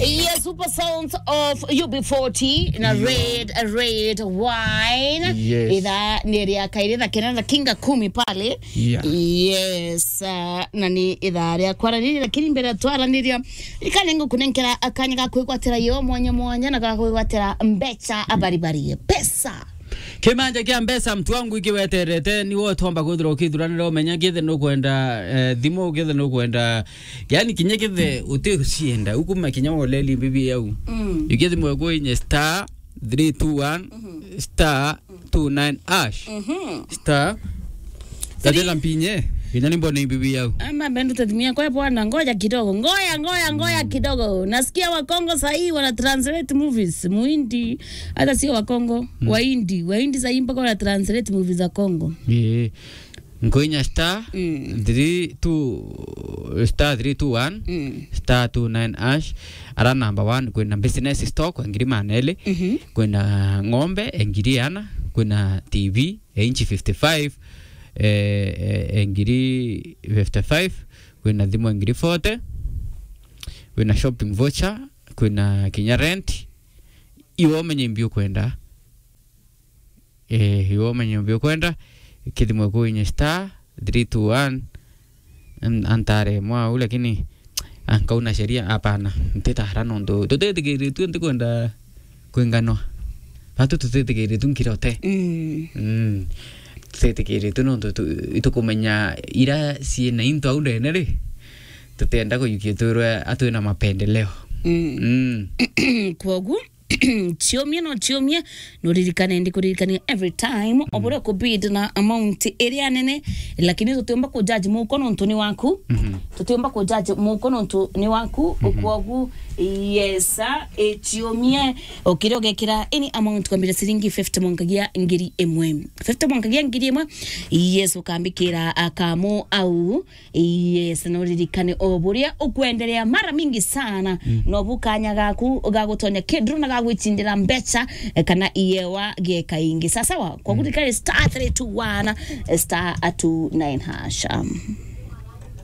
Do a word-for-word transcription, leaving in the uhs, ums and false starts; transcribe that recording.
Yes, Super Sounds of U B forty na Red, Red Wine. Yes. Ithaa ni ria kairi na kenda na kinga kumi pale. Yeah. Yes, uh, na ni ithaa ria kwaraniria, lakini mbere ya twaraniria, ikane ngukunenkera akanya ga kwigwatira yo mwanya mwanya na ga kwigwatira mbecha abaribari. Pesa. Kimanja kia mbeca, mtu wangu, ikiweterete, ni wo twamba kwithirwa ukithuranira, umenya kithe nukwenda, eh, thimu, kithe nukwenda, yani, kinya kithe uticienda, ukuma kinya woleli mbibi yau. Mm. Ikithi mwe kwinya star three two one, star two nine hash. Mhm. Star. Three- Tatela mpinye, kinya ni mbone mbibi yau. Ama bendu tathimia kwa bwana, ngoja kidogo, ngoja, ngoja, ngoja kidogo. Nasikia Wakongo sahii wana translate movies, Muhindi, hata sio Wakongo, Wahindi, Wahindi sahii mpaka wana translate movies za Kongo. Eh. Nkwinya star Mm. three two, star three two one, Mm. star two nine hash. Ara number one, kwina business stock, ngiri maneli. Mhm. Kwina ng'ombe, ngiri ana. Kwina T V, ya inchi fifty-five, eh, eh, ngiri fifty-five. Kwina thimu, ngiri forty. Kwina shopping voucher, kwina kinya rent. Iwe umenye mbi ukwenda. Eh, iwe umenye mbi ukwenda. Kithimwe kwinya star three two one. An-, antare mwa au, lakini ankauna sheria, hapana. Ntitara nontu tutitikiritue, ntikwenda kwinganwa. Batu tutitikiritue nkirote. Mm. Mm. Tutitikiritue nontu tu-, itukumenya ira ciina into au ndene ri. Tutenda kuyukia twirwe atwina mapendeleo. Mm. Mm. Kwogu, ciumie no ciumie, no ririkane, ndi kuririkania every time, o buria kubid na amount iria nene, lakini tutiumba ku judge muko nontu ni waku. Mhm. Tutiumba ku judge muko nontu ni waku, Mhm. kwogu, yes, sir, e, ciumie, ukire ugekira any amount kwambira ciringi fifty mwankagia ngiri imwe. Fifty mwankagia ngiri imwe, yes, ukambikira akamu au, Yes, na uririkane o buria ukwenderea mara mingi sana, Mm. no bu kanya gaku ga gutonya kidru na ga gwicindira mbecha, eh, kana iewa gieka ingi. Sawa sawa, kwa Mm. kuririkane star three two one, eh, star two nine hash. Um,